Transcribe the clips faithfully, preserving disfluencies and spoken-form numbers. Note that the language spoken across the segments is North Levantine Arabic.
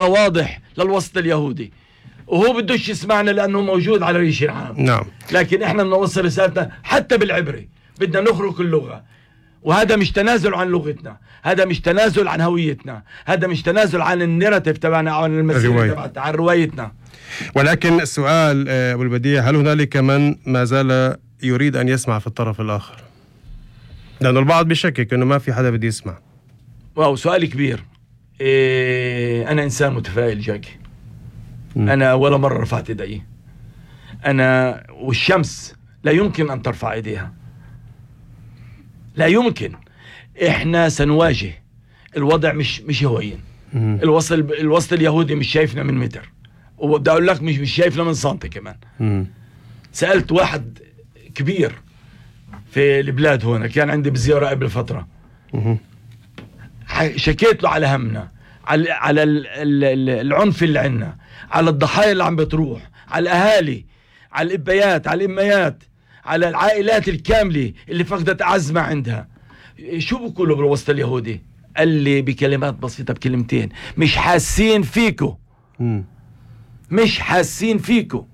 واضح للوسط اليهودي، وهو بدوش يسمعنا لأنه موجود على ريش العام. نعم. لكن احنا بدنا نوصل رسالتنا حتى بالعبري، بدنا نخرق اللغة، وهذا مش تنازل عن لغتنا، هذا مش تنازل عن هويتنا، هذا مش تنازل عن النراتيف تبعنا او عن المسيرة تبعتنا، عن روايتنا. ولكن السؤال ابو البديع، هل هنالك من ما زال يريد ان يسمع في الطرف الاخر؟ لانه البعض بيشكك انه ما في حدا بده يسمع. واو، سؤال كبير. إيه، انا انسان متفائل جاكي. م. انا ولا مرة رفعت ايدي. انا والشمس لا يمكن ان ترفع ايديها، لا يمكن. احنا سنواجه الوضع، مش مش هوين. الوسط الوسط اليهودي مش شايفنا من متر، وبدي اقول لك مش مش شايفنا من سنتي كمان. مم. سألت واحد كبير في البلاد هنا، كان عندي بزيارة قبل فترة. مم. شكيت له على همنا، على على العنف اللي عندنا، على الضحايا اللي عم بتروح، على الاهالي، على الابيات، على الاميات، على العائلات الكاملة اللي فقدت أعز ما عندها. شو بقولوا بالوسط اليهودي؟ قال لي بكلمات بسيطة، بكلمتين: مش حاسين فيكو. م. مش حاسين فيكو.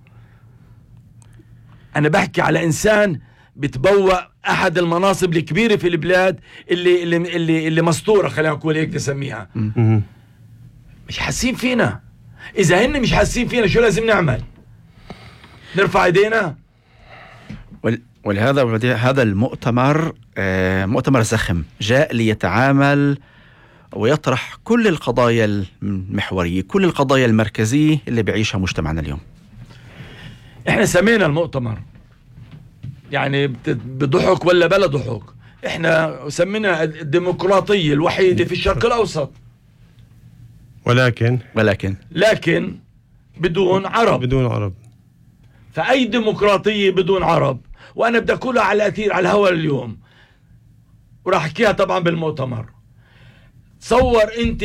أنا بحكي على إنسان بتبوأ أحد المناصب الكبيرة في البلاد اللي اللي اللي, اللي مسطورة، خلينا نقول هيك نسميها. م. مش حاسين فينا. إذا هن مش حاسين فينا، شو لازم نعمل؟ نرفع ايدينا؟ ولهذا هذا المؤتمر مؤتمر زخم جاء ليتعامل ويطرح كل القضايا المحورية، كل القضايا المركزية اللي بيعيشها مجتمعنا اليوم. احنا سمينا المؤتمر يعني بضحك ولا بلا ضحك، احنا سمينا الديمقراطية الوحيدة في الشرق الأوسط. ولكن ولكن لكن بدون عرب. بدون عرب. فأي ديمقراطية بدون عرب؟ وأنا بدي أقولها على الأثير على الهواء اليوم، وراح أحكيها طبعا بالمؤتمر. تصور أنت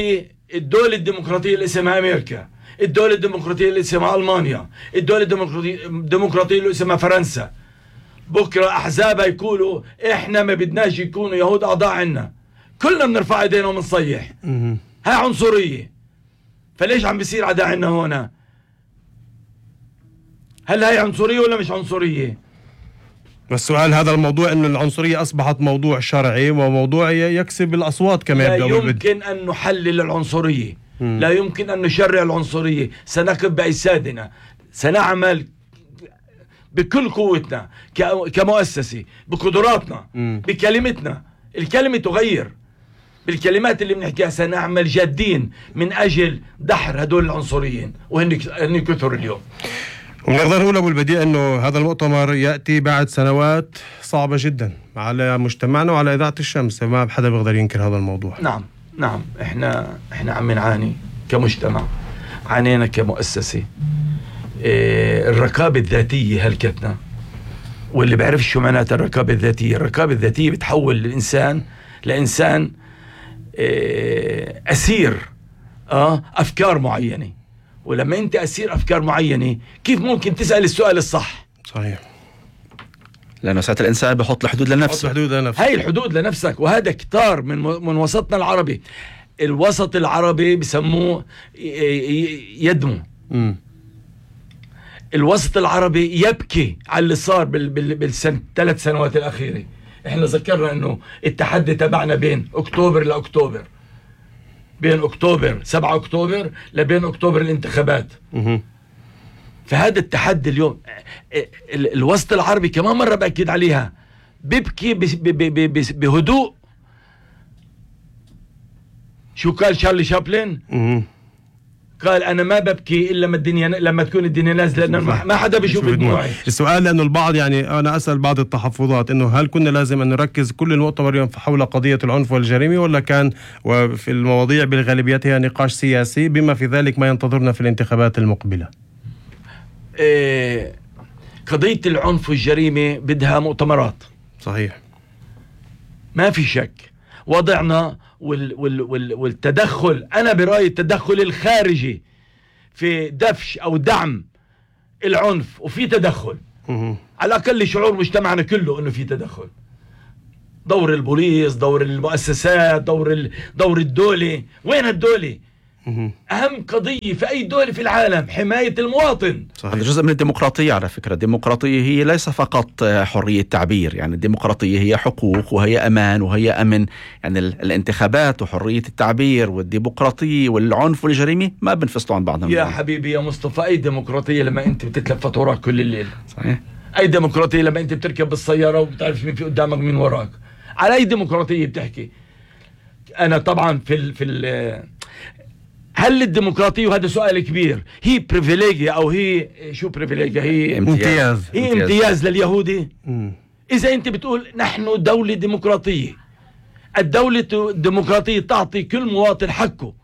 الدولة الديمقراطية اللي اسمها أمريكا، الدولة الديمقراطية اللي اسمها ألمانيا، الدولة الديمقراطية اللي اسمها فرنسا، بكرة أحزابها يقولوا إحنا ما بدناش يكونوا يهود أعضاء عنا، كلنا بنرفع ايدينا وبنصيح. هاي عنصرية. فليش عم بيصير عدا عنا هنا؟ هل هي عنصرية ولا مش عنصرية؟ والسؤال هذا الموضوع انه العنصرية اصبحت موضوع شرعي وموضوع يكسب الاصوات كمان. لا يمكن ان نحلل العنصرية. م. لا يمكن ان نشرع العنصرية. سنقف بأجسادنا، سنعمل بكل قوتنا كمؤسسة، بقدراتنا، م. بكلمتنا. الكلمة تغير. بالكلمات اللي بنحكيها سنعمل جادين من اجل دحر هدول العنصريين، وهن كثر اليوم. ونقدر نقول ابو البديع انه هذا المؤتمر ياتي بعد سنوات صعبه جدا على مجتمعنا وعلى اذاعه الشمس، ما حدا بيقدر ينكر هذا الموضوع. نعم نعم، احنا احنا عم نعاني كمجتمع، عانينا كمؤسسه. إيه الركابه الذاتيه هلكتنا، واللي بيعرف شو معناتها الركابه الذاتيه، الركابه الذاتيه بتحول الانسان لانسان إيه اسير اه افكار معينه. ولما انت اسير افكار معينه، كيف ممكن تسال السؤال الصح؟ صحيح. لانه ساعه الانسان بحط الحدود لنفسه. بحط الحدود لنفسه. هاي الحدود لنفسك، وهذا كتار من من وسطنا العربي. الوسط العربي بسموه يدمو. م. الوسط العربي يبكي على اللي صار بالسنة ثلاث سنوات الاخيره. احنا ذكرنا انه التحدي تبعنا بين اكتوبر لاكتوبر، بين اكتوبر سبعة اكتوبر لبين اكتوبر الانتخابات. مه. فهذا التحدي اليوم الوسط العربي كمان مرة بأكد عليها بيبكي بهدوء. شو قال شارلي شابلن؟ مه. قال أنا ما ببكي إلا لما الدنيا لما تكون الدنيا نازلة، لأنه ما حدا بيشوف دموعي. السؤال لأنه البعض يعني أنا أسأل بعض التحفظات إنه هل كنا لازم أن نركز كل المؤتمر اليوم حول قضية العنف والجريمة، ولا كان وفي المواضيع بالغالبيتها نقاش سياسي بما في ذلك ما ينتظرنا في الانتخابات المقبلة؟ إيه قضية العنف والجريمة بدها مؤتمرات. صحيح. ما في شك. وضعنا وال وال وال والتدخل، أنا برأيي التدخل الخارجي في دفش أو دعم العنف، وفي تدخل. مه. على الأقل شعور مجتمعنا كله أنه في تدخل. دور البوليس، دور المؤسسات، دور ال... دور الدولة. وين الدولة؟ أهم قضية في أي دولة في العالم حماية المواطن. هذا جزء من الديمقراطية على فكرة. الديمقراطية هي ليس فقط حرية تعبير، يعني الديمقراطية هي حقوق وهي أمان وهي أمن. يعني الانتخابات وحرية التعبير والديمقراطية والعنف والجريمة ما بنفصلوا عن بعضهم. يا حبيبي يا مصطفى، أي ديمقراطية لما أنت بتتلفت وراك كل الليل؟ صحيح. أي ديمقراطية لما أنت بتركب بالسيارة وبتعرف مين في قدامك مين وراك؟ على أي ديمقراطية بتحكي؟ أنا طبعا في ال في ال هل الديمقراطية، وهذا سؤال كبير، هي بريفيليجيا أو هي شو بريفيليجيا؟ هي امتياز. هي امتياز, امتياز لليهودي. مم. إذا أنت بتقول نحن دولة ديمقراطية، الدولة الديمقراطية تعطي كل مواطن حقه،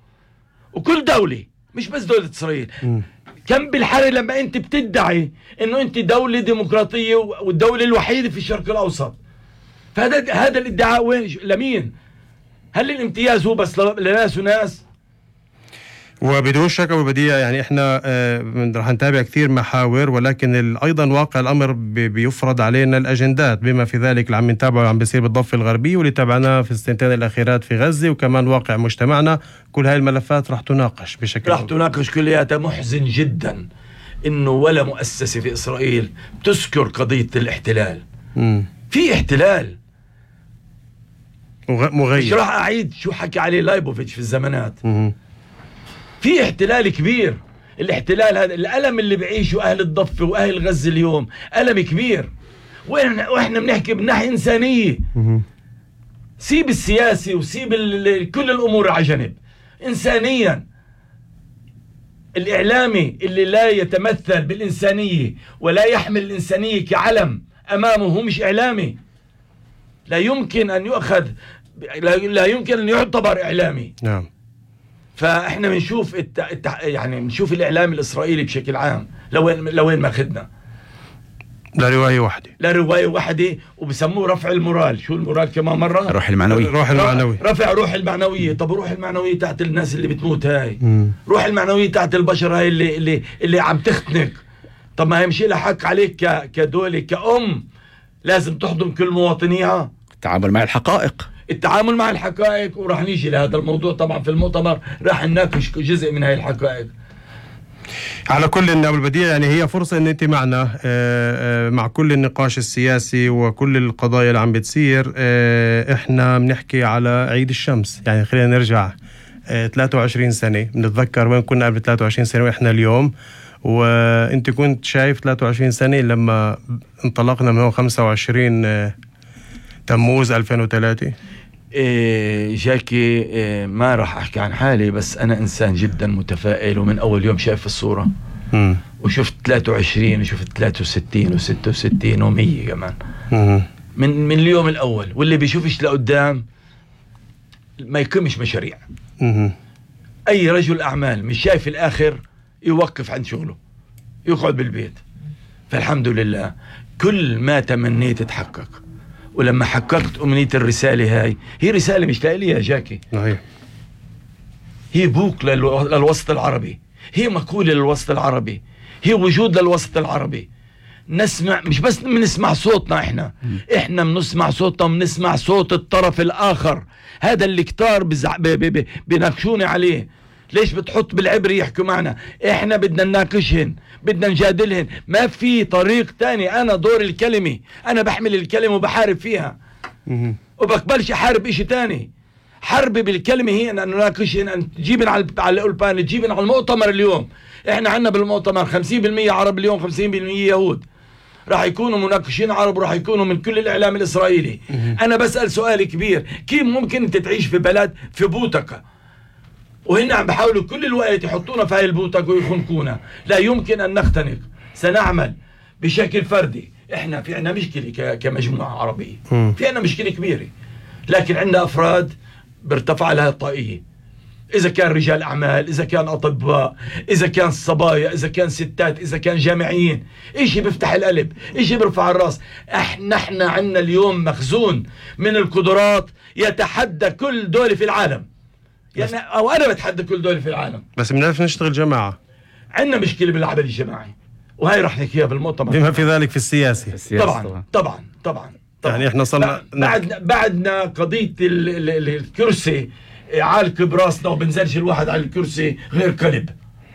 وكل دولة مش بس دولة إسرائيل. مم. كم بالحري لما أنت بتدعي إنه أنت دولة ديمقراطية والدولة الوحيدة في الشرق الأوسط. فهذا هذا الادعاء وين لمين؟ هل الامتياز هو بس لناس وناس؟ وبدون شك وبديع يعني احنا آه رح نتابع كثير محاور، ولكن ايضا واقع الامر بيفرض علينا الاجندات، بما في ذلك اللي عم نتابعه اللي عم بيصير بالضفه الغربيه واللي تابعناه في السنتين الاخيرات في غزه، وكمان واقع مجتمعنا. كل هاي الملفات رح تناقش بشكل رح تناقش كلياتها. محزن جدا انه ولا مؤسسه في اسرائيل تذكر قضيه الاحتلال. مم. في احتلال مغير، مش راح اعيد شو حكى عليه لايبوفيتش في الزمانات. مم. في احتلال كبير. الاحتلال هذا الألم اللي بعيشه أهل الضفة وأهل غزة اليوم ألم كبير، وإحنا بنحكي بناحية إنسانية. سيب السياسي وسيب كل الأمور على جنب. إنسانيا الإعلامي اللي لا يتمثل بالإنسانية ولا يحمل الإنسانية كعلم أمامه هو مش إعلامي. لا يمكن أن يؤخذ، لا يمكن أن يعتبر إعلامي. نعم. فاحنا بنشوف الت... الت... يعني بنشوف الاعلام الاسرائيلي بشكل عام لوين لوين ماخذنا. لا روايه واحده، لا روايه واحده، وبسموه رفع المورال. شو المورال كمان مره؟ روح المعنويه. روح المعنويه. رفع روح المعنويه. طب روح المعنويه تحت الناس اللي بتموت هاي. مم. روح المعنويه تحت البشر هاي اللي اللي اللي عم تختنق. طب ما هي مش لها حق عليك ك... كدوله كأم لازم تحضن كل مواطنيها. التعامل مع الحقائق. التعامل مع الحقائق، وراح نيجي لهذا الموضوع طبعا في المؤتمر، راح نناقش جزء من هاي الحقائق. على كل أبو البديع يعني هي فرصة ان انت معنا مع كل النقاش السياسي وكل القضايا اللي عم بتصير. احنا بنحكي على عيد الشمس، يعني خلينا نرجع ثلاثة وعشرين سنة، بنتذكر وين كنا قبل ثلاثة وعشرين سنة واحنا اليوم. وانت كنت شايف ثلاثة وعشرين سنة لما انطلقنا من خمسة وعشرين تموز ألفين وثلاثة. إيه جاكي، إيه ما راح أحكي عن حالي، بس أنا إنسان جدا متفائل، ومن أول يوم شايف الصورة. مم. وشفت ثلاثة وعشرين وشفت ثلاثة وستين وستة وستين ومية كمان. مم. من من اليوم الأول. واللي بيشوفش لقدام ما يقيمش مشاريع. مم. أي رجل أعمال مش شايف الآخر يوقف عن شغله، يقعد بالبيت. فالحمد لله كل ما تمنيت تحقق. ولما حققت أمنية الرسالة هاي، هي رسالة مش لإلي يا جاكي، صحيح، هي بوك للوسط العربي، هي مقولة للوسط العربي، هي وجود للوسط العربي. نسمع، مش بس بنسمع صوتنا احنا م. احنا بنسمع صوتنا، بنسمع صوت الطرف الآخر. هذا اللي كتار بزع... ب... ب... ب... بناقشوني عليه. ليش بتحط بالعبري يحكوا معنا؟ احنا بدنا نناقشهن، بدنا نجادلهن، ما في طريق تاني. انا دور الكلمة، انا بحمل الكلمة وبحارب فيها، وبقبلش احارب اشي تاني. حربي بالكلمة هي ان نناقشهن، ان تجيبن على على الأولبان، تجيبن على المؤتمر. اليوم احنا عنا بالمؤتمر خمسين بالمية عرب، اليوم خمسين بالمية يهود. راح يكونوا مناقشين عرب، وراح يكونوا من كل الاعلام الاسرائيلي. انا بسأل سؤال كبير، كيف ممكن انت تعيش في بلد في بوتقة وهن عم بحاولوا كل الوقت يحطونا في هاي البوتقة ويخنقونا؟ لا يمكن ان نختنق. سنعمل بشكل فردي. احنا في عنا مشكلة كمجموعة عربية، في عنا مشكلة كبيرة، لكن عنا افراد بارتفع لها الطاقية. اذا كان رجال اعمال، اذا كان اطباء، اذا كان صبايا، اذا كان ستات، اذا كان جامعيين، اشي بيفتح القلب، اشي بيرفع الراس. احنا احنا عنا اليوم مخزون من القدرات يتحدى كل دولة في العالم. يعني او انا بتحدى كل دولة في العالم، بس بنعرف نشتغل جماعة. عندنا مشكلة بالعمل الجماعي، وهي رح نحكيها بالمؤتمر، بما في ذلك في السياسي. في السياسة طبعا طبعا طبعا, طبعاً. يعني احنا صرنا بعدنا بعدنا قضية ال ال ال الكرسي عالك براسنا وبنزلش الواحد على الكرسي غير كلب.